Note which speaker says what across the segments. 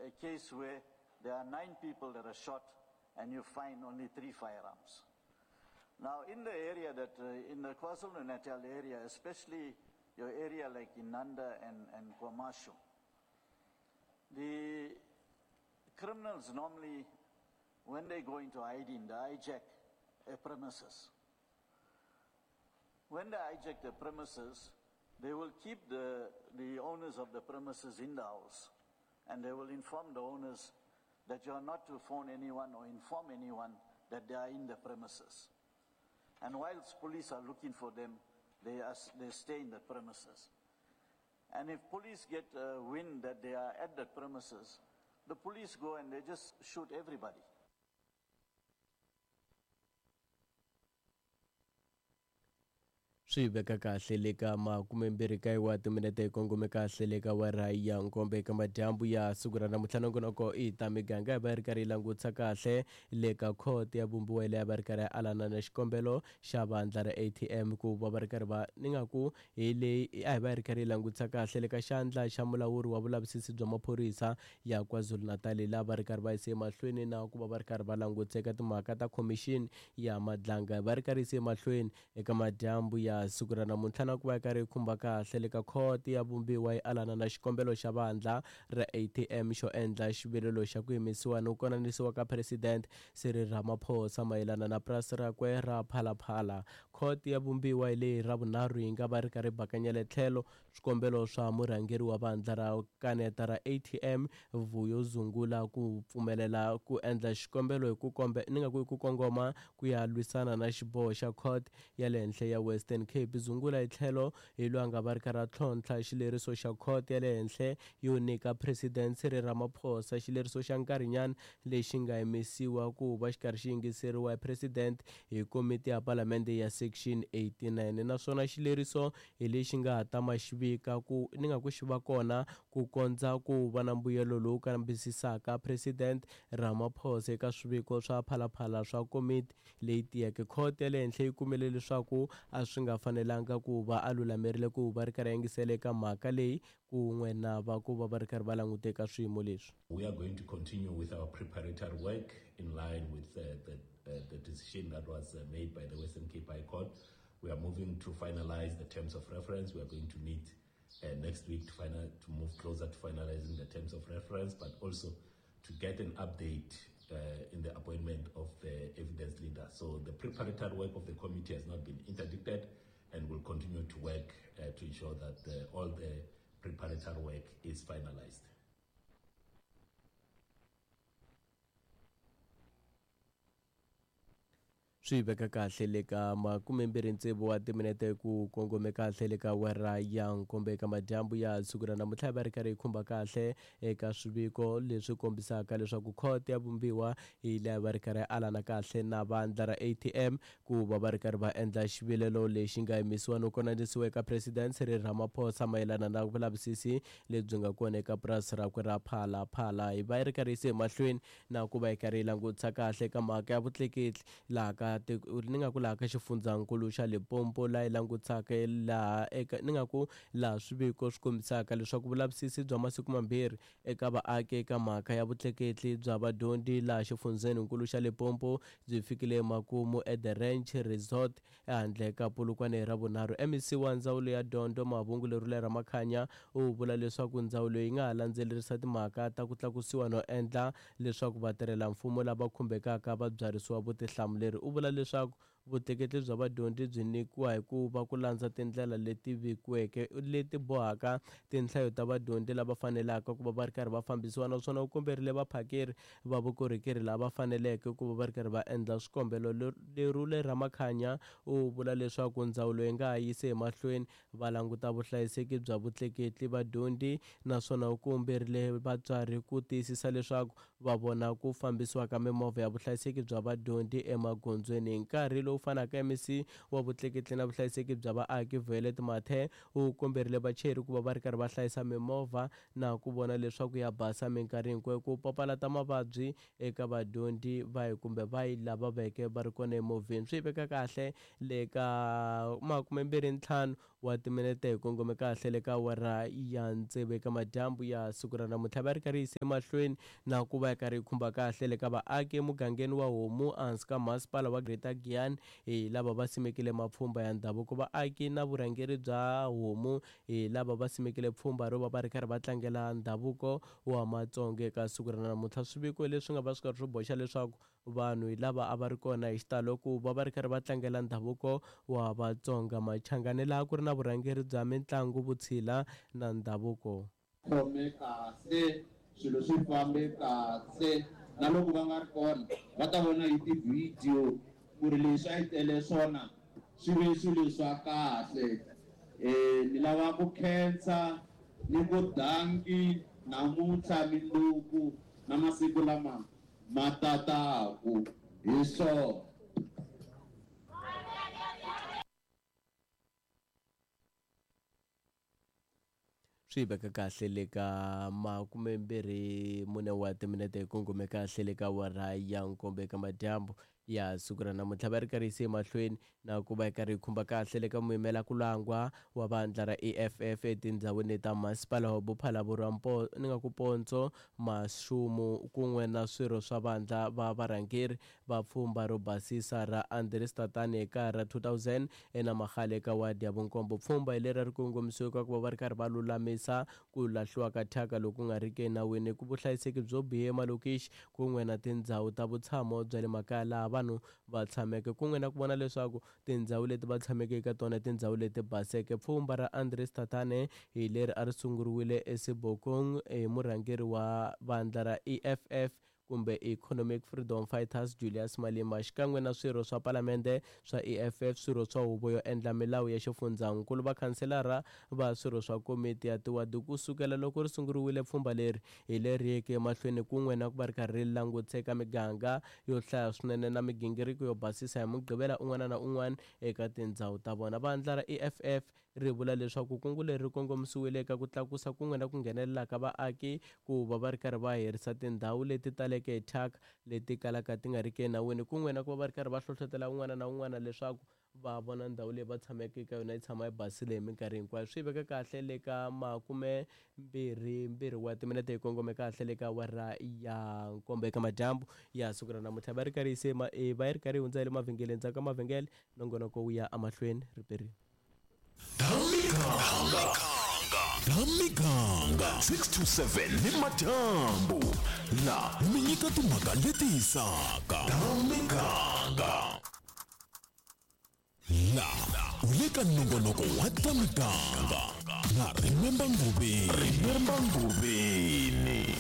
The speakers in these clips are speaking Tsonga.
Speaker 1: a case where there are 9 people that are shot and you find only 3 firearms. Now, in the area that, in the KwaZulu-Natal area, especially your area like Inanda and KwaMashu, the criminals normally, when they go into hiding, they hijack a premises. When they hijack the premises, they will keep the owners of the premises in the house, and they will inform the owners that you are not to phone anyone or inform anyone that they are in the premises. And whilst police are looking for them, they stay in the premises. And if police get wind that they are at the premises, the police go and they just shoot everybody.
Speaker 2: Swi veka kahle le ka 29 wa timinete yi kongome kahle le ka wara ya nkombe eka madyambu ya siku ra namuntlha. Nongonoko i ta miganga yi va yi ri karhi yi langutisa kahle le ka khoto ya vumbiwa leyi va ri karhi alana na xikombelo xa vandla ra ATM ku va va ri karhi va ni nga ku hi leyi a hi va yi ri karhi yi langutisa kahle le ka xandla xa mulawuri wa vulavisisi bya maphorisa ya KwaZulu-Natal laha va ri karhi va yise emahlweni na ku va va ri karhi va langutisa eka timhaka ta khomixini ya Madlanga va ri karhi yise emahlweni eka madyambu ya siku ra namuntlha na ku va yi karhi yi khumba kahle le ka khoto ya vumbiwa yi alana na xikombelo xa vandla ra ATM xo endla xivilelo xa ku yimisiwa no konanisiwa ka President Cyril Ramaphosa mayelana na purasi rakwe ra Phalaphala. Khoto ya vumbiwa hi leyi ra vunharhu yi nga va ri karhi bakanyela tlhelo swikombelo swa murhangeri wa vandla ra kaneta ra ATM Vuyo Zungula ku pfumelela ku endla xikombelo hi ku kombe ni nga ku hi ku kongoma ku ya lwisana na xiboho xa court ya le henhla ya Western Cape. Zungula hi tlhelo hi loyi a nga va ri karhi a tlhontlha xileriso xa court ya le henhla yo nyika President Cyril Ramaphosa xileriso xa nkarhinyana lexi nga yimisiwa ku va xi karhi xi yingiseriwa hi President hi komiti ya palamende ya Section 89, naswona xileriso hi lexi nga ta ma xi vika ku ni nga ku xi va kona ku kondza ku va na mbuyelo lowu kambisisaka President Ramaphosa eka swiviko swa Phalaphala swa komiti leyi tiyeke. Khoto ya le henhla yi kumile leswaku a swi nga fanelanga ku va a lulamerile ku va ri karhi yingisela eka mhaka leyi kun'we na va ku va va ri karhi va langute eka swiyimo leswi.
Speaker 3: We are going to continue with our preparatory work in line with the decision that was made by the Western Cape High Court. We are moving to finalize the terms of reference. We are going to meet next week to move closer to finalizing the terms of reference, but also to get an update in the appointment of the evidence leader. So the preparatory work of the committee has not been interdicted and will continue to work to ensure that all the preparatory work is finalized.
Speaker 2: Swi veka kahle le ka 26 wa timinete ku kongome kahle le ka wera ya nkombe eka madyambu ya siku ra namuntlha va ri karhi yi khumba kahle eka swiviko leswi kombisaka leswaku khoto ya vumbiwa hi laha va ri karhi alana kahle na vandla ra ATM ku va va ri karhi va endla xivilelo lexi nga yimisiwa no konanisiwa eka President Cyril Ramaphosa mayelana na vulavisisi lebyi nga kona eka purasi rakwe ra Phalaphala. Hi va yi ri karhi yise emahlweni na ku va yi karhi yi langutisa kahle eka mhaka ya vutleketli laha ka ni nga ku laha ka xifundzankulu xa Limpopo laha yi langutisaka laha eka ni nga ku laha swiviko swi kombisaka leswaku vulavisisi bya masiku mambirhi eka vaaki eka mhaka ya vutleketli bya vadyondzi laha xifundzenikulu xa Limpopo byi fikile emakumu at The Ranch Resort ehandle ka Polokwane ra vunharhu. MEC wa ndzawulo ya dyondzo Mavhungu Lerule Ramakhanya u vula leswaku ndzawulo yi nga ha landzelerisa timhaka ta ku tlakusiwa no endla leswaku vatirhelamfumo lava khumbekaka va byarisiwa vutihlamuleri. U vula leswaku vutleketli bya vadyondzi byi nyikiwa hi ku va ku landza tindlela leti vekiweke leti bohaka tinhlayo ta vadyondzi lava fanelaka ku va va ri karhi va fambisiwa, naswona u komberile vaphakeri va vukorhokeri lava faneleke ku va va ri karhi va endla swikombelo. Lerule Ramakhanya u vula leswaku ndzawulo yi nga ha yisi emahlweni va languta vuhlayiseki bya vutleketli vadyondzi, naswona u komberile vatswari ku tiyisisa leswaku va vona ku fambisiwa ka mimovha ya vuhlayiseki bya vadyondzi emagondzweni. Hi nkarhi lowu fanaka, MEC wa vutleketli na vuhlayiseki bya vaaki Violet Mathe u komberile vachayeri ku va va ri karhi va hlayisa mimovha na ku vona leswaku ya basa minkarhi hinkwayo ku papalata mavabyi eka vadyondzi vahi kumbe vahi lava veke va ri kona emovheni. Swi veka kahle le ka 25 wa timinete hi kongome kahle le ka awara ya tsevu eka madyambu ya siku ra namuntlha. Va ri karhi yise mahlweni na ku va yi karhi yi khumba kahle le ka vaaki emugangeni wa Homu ehansi ka masipala wa Greater Giyani, hi lava va simekile mapfhumba ya ndhavuko. Vaaki na vurhangeri bya Homu hi lava va simekile pfhumba ro va va ri karhi va tlangela ndhavuko wa Matsonga eka siku ra namuntlha. Swiviko leswi nga va swi karhi swi boxa leswaku vanhu hi lava a va ri kona hi xitalo ku va va ri karhi va tlangela ndhavuko wa Vatsonga. Machangani laha ku ri na vurhangeri bya mitlangu, vutshila na ndhavuko.
Speaker 4: Khome kahle, swilo swi fambe kahle, na loko va nga ri kona va ta vona hi tivhidiyo ku ri leswi a yi tele swona swi ve swilo swa kahle. Ni lava ku khensa ni ku danki namuntlha, minduku na masiku lama ma tataku hi swona.
Speaker 2: Swi veka kahle le ka 24 wa timinete hi kongome kahle le ka awara ya 7 eka madyambu ya siku ra namuntlha. Va ri karhi yise emahlweni na ku va yi karhi yi khumba kahle le ka muyimela ku langwa wa vandla ra EFF etindhawini ta masipala wa Bophalaborwa ni nga ku Pontsho Mashumu kun'we na swirho swa vandla va varhangeri va pfhumba ro basisa ra Andries Tatane eka ra 2000 eNamagale eka wadi ya vunkombo. Pfhumba hi leri ri kongomisiweke ku va va ri karhi va lulamisa ku lahliwa ka thyaka loku nga riki enawini, ku vuhlayiseki byo biha emalokixi kun'we na tindhawu ta vutshamo bya le makaya laha vanhu va tshameke, kun'we na ku vona leswaku tindhawu leti va tshameke eka tona tindhawu leti baseke. Pfhumba ra Andries Tatane hi leri a ri sunguriwile eSebokong hi murhangeri wa vandla ra EFF kumbe Economic Freedom Fighters Julius Malema, xikan'we na swirho swa palamende swa EFF, swirho swa huvo yo endla milawu ya xifundzankulu, vakhanselara va swirho swa komiti ya tiwadi. Ku sukela loko ri sunguriwile pfhumba leri hi leri yeke emahlweni kun'we na ku va ri karhi ri languteka miganga yo hlaya swinene na migingiriko yo basisa hi Mugqivela un'wana na un'wana eka tindhawu ta vona. Vandla ra EFF ri vula leswaku kungu leri ri kongomisiwile eka ku tlakusa kun'we na ku nghenelela ka vaaki ku va va ri karhi va herisa tindhawu leti taleke hi thyaka leti kalaka ti nga riki enawini, kun'we na ku va va ri karhi va hlohlotela un'wana na un'wana leswaku va vona ndhawu leyi va tshameke eka yona yi tshama yi basile hi minkarhi hinkwayo. Swi veka kahle le ka 22 wa timinete hi kongome kahle le ka awara ya 7 eka madyambu ya siku ra namuntlha. Va ri karhi yise va yi ri karhi yi hundza hi le mavhengeleni, ndzhaku ka mavhengele nongonoko wu ya emahlweni riperini.
Speaker 5: Tamiganga 6 to 7 ni madyambu la mi nyika timhaka leti hisaka. Tamiganga la u le ka nongonoko wa Tamiganga na Remember Ngubeni. Remember Ngubeni.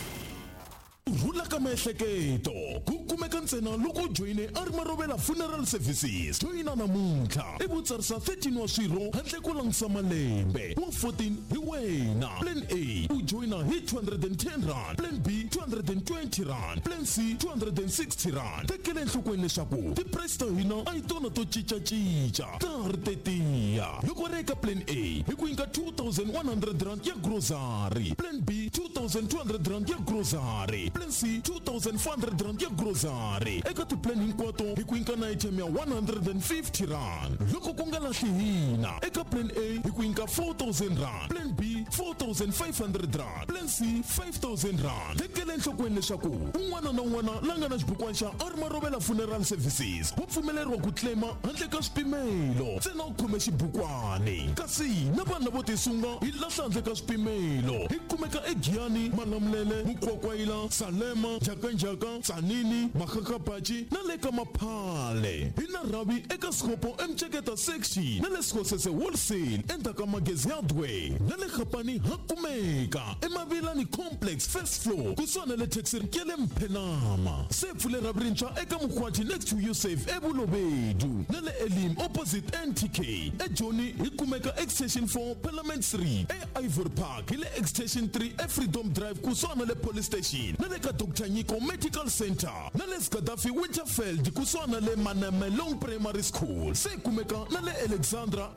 Speaker 5: Rhula ka miehleketo ku kumeka ntsena loko u joyine a ri Marovela Funeral Services. Joyina namuntlha i vutsarisa 13 wa swirho handle ko langutisa malembe, wa 14 hi wena. Plan A u joyina hi 210 rand, Plan B 220 rand, Plan C 260 rand. Tekela enhlokweni leswaku ti-price ta hina a hi tona to cincacinca, ta ha ri tetiya. Loko ri eka Plan A hi ku nyika 2100 rand ya grocery, Plan B 2200 rand ya grocery, Plan C 2400 rand ya grocery. Eka ti-plan hinkwato hi ku nyika na item ya 150 rand. Loko ku nga lahli hina eka Plan A hi ku nyika 4000 rand, Plan B 4500 rand, Plan C 5000 rand. Tekela enhlokweni leswaku un'wana na un'wana la nga na xibukwana xa a ri Marovela Funeral Services wa pfumeleriwa ku claima handle ka swipimelo, ntsena u khome xibukwani. Kasi na vanhu lavo tisunga hi lahla handle ka swipimelo. Hi kumeka eGiyani, Malamulele, Mukwakwayila, Salema, Njhakanjhaka, Tsanini, Makgakgabatši na le ka Maphale. Hi na rhavi eka Sekgopo eMceketa Section na le Sekgosese Wholesale endzhaku ka Magezi Hardware, na le Gapani ha kumeka eMavilani Complex first floor kusuhana le taxi ya le Mphenama. Se pfule rhavi rintshwa eka Mokgwathi next to Usave eBulobedu na le Elim opposite NTK. EJoni hi kumeka Extension 4 Parliament Street, eIvory Park hi le Extension 3 eFreedom Drive kusuhana le Police Station, na le ka Dr Nyiko Medical Center, na le Gaddafi Winterfeld kusuhana le Manamelong Primary School. Se kumeka na le Alexandra.